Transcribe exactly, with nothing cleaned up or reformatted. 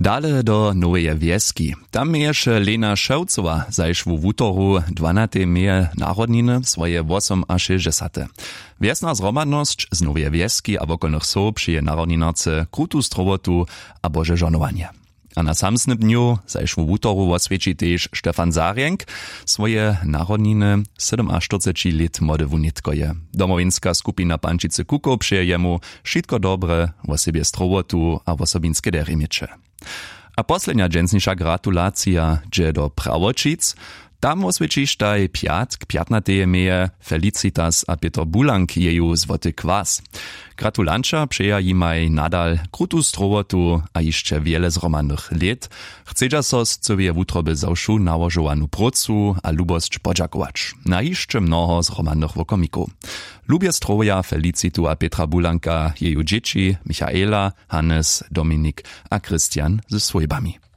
Dale do noweje wjeski. Tam měješe Lena Šewcowa zašłu wutoru dwanatej meje narodniny swoje wosomašěsćdźesate. Wjesna zhromadnosć z noweje wjeski a wokolnych wsow přeje narodninarce krutu strowotu a bože žohnowanje. A na samsnym dnju zašłu wutoru woswjeći tež Stefan Zarjenk swoje narodniny. Sydomaštyrceći lět młode wunitkoje. Domowinska skupina pančicy kukow přeje jemu wšitko dobre, wosebje strowotu a wosobinske derje měće. A poslednja dźensniša gratulacija dźe do prawoćic. Tam woswjećištaj pjatk pjatnateje meje felicitas a pětr bulank jeju złoty kwas. Gratulanća přeja jimaj nadal krutu strowotu a hišće wjele zhromadnych lět. Chcedźa so z cyłeje wutroby za wšu nałožowanu prócu a lubosć podźakować na hišće mnoho zhromadnych wokomikow. Lubje strowja felicitu a pětra bulanka jeju dźěći michaela, hannes, dominik a christian ze swójbami.